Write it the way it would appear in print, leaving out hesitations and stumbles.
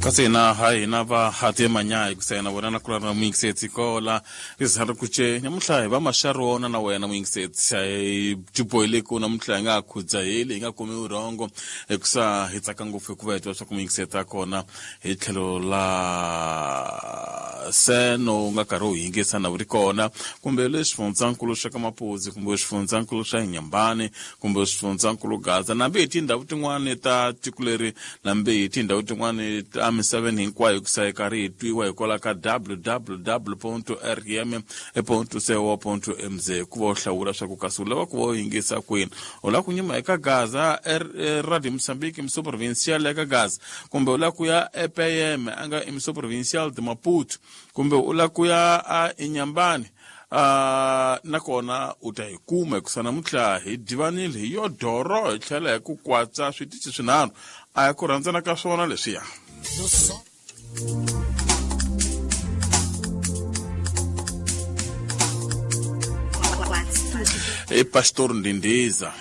Kasi hina ha hina va hati manyayi kusena wena na kula na muyingisetsi kola rizihari kuce nyamuntlha hi va maxarona na wena muyingisetsi hi tibohile ku namuntlha hi nga khudzaheli hi nga kumi vurhongo hikusa hi tsaka ngopfu hikuva hi twa swa ku muyingisetsi a kona hi tlhelo la seno u nga karhi u yingisa na wu ri kona kumbe le xifundzankulu xa ka Mapudzi kumbe xifundzankulu xa Inyambani kumbe xifundzankulu Gaza nambi hi tindhawu tin'wani ta tiko leri nambi hi tindhawu tin'wani ta misaveni hinkwayo hikusa hi karhi hi twiwa hikwalaho ka www rm co mz ku va u hlawula swa ku kasi u lava ku va u yingisa kwini u lava ku nyuma eka Gaza Radio Mozambique Mso Provincial eka Gaza kumbe u lava ku ya ePM a nga Mso Provincial de Maputo kumbe u lava ku ya a Inyambani nakona u ta hi kuma hikusa namuntlha hi divanile hi yo doro hi tlhela hi ku kwatsa switichi swinharhu a hi ku rhandzana ka swona leswiya. I Pastor Ndindiza.